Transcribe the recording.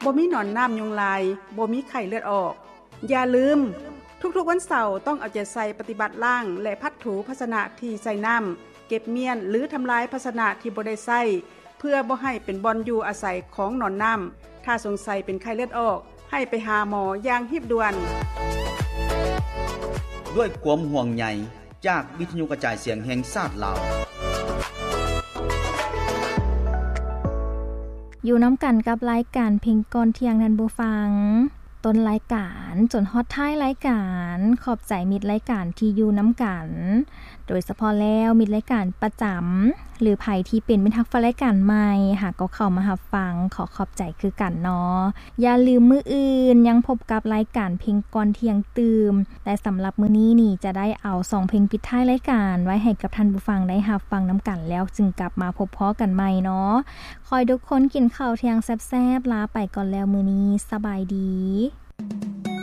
ບໍ່ມີໜອນນ້ຳຍຸງລາຍ, ບໍ່ມີໄຂ້ເລືອດອອກ. ຢ່າລືມ, ທຸກໆວັນເສົາຕ້ອງເອົາໃຈໃສ່ປະຕິບັດລ້າງ ແລະ ພັດຖູພາຊະນະທີ່ໃສ່ນ້ຳ, ເກັບມ້ຽນ ຫຼື ທຳລາຍພາຊະນະທີ່ບໍ່ໄດ້ໃຊ້ ເພື່ອບໍ່ໃຫ້ເປັນບ່ອນຢູ່ອາໄສຂອງໜອນນ້ຳ. ຖ້າສົງໄສເປັນໄຂ້ເລືອດອອກ, ໃຫ້ໄປຫາໝໍຢ່າງຮີບດ່ວນ. ດ້ວຍຄວາມຫ່ວງໃຍຈາກວິທະຍຸກະຈາຍສຽງແຫ່ງຊາດລາວ. ຢູ່ນຳກັນກັບລາຍການເພງກ່ອນທ່ຽງ ທ່ານຜູ້ຟັງ, ຕົ້ນລາຍການຈົນຮອດທ້າຍລາຍການ. ຂອບໃຈມິດລາຍການທີ່ຢູ່ນຳກັນ, ໂດຍສະເພາະແລ້ວມິດລາຍການປະຈຳ ຫຼື ໃຜທີ່ເປັນມິດຮັກແຟນລາຍການໃໝ່ ຫາກໍເຂົ້າມາຮັບຟັງ, ຂໍຂອບໃຈຄືກັນເນາະ. ຢ່າລືມມື້ອື່ນຍັງພົບກັບລາຍການເພງກ່ອນທ່ຽງຕື່ມ ແລະ ສຳລັບມື້ນີ້ນີ້ຈະໄດ້ເອົາສອງເພງປິດທ້າຍລາຍການໄວ້ໃຫ້ກັບທ່ານຜູ້ຟັງໄດ້ຮັບຟັງນຳກັນ ແລ້ວຈຶ່ງກັບມາພົບພໍ້ກັນໃໝ່ເນາະ. ຂໍໃຫ້ທຸກຄົນກິນເຂົ້າທ່ຽງແຊບໆ, ລາໄປກ່ອນແລ້ວມື້ນີ້, ສະບາຍດີ.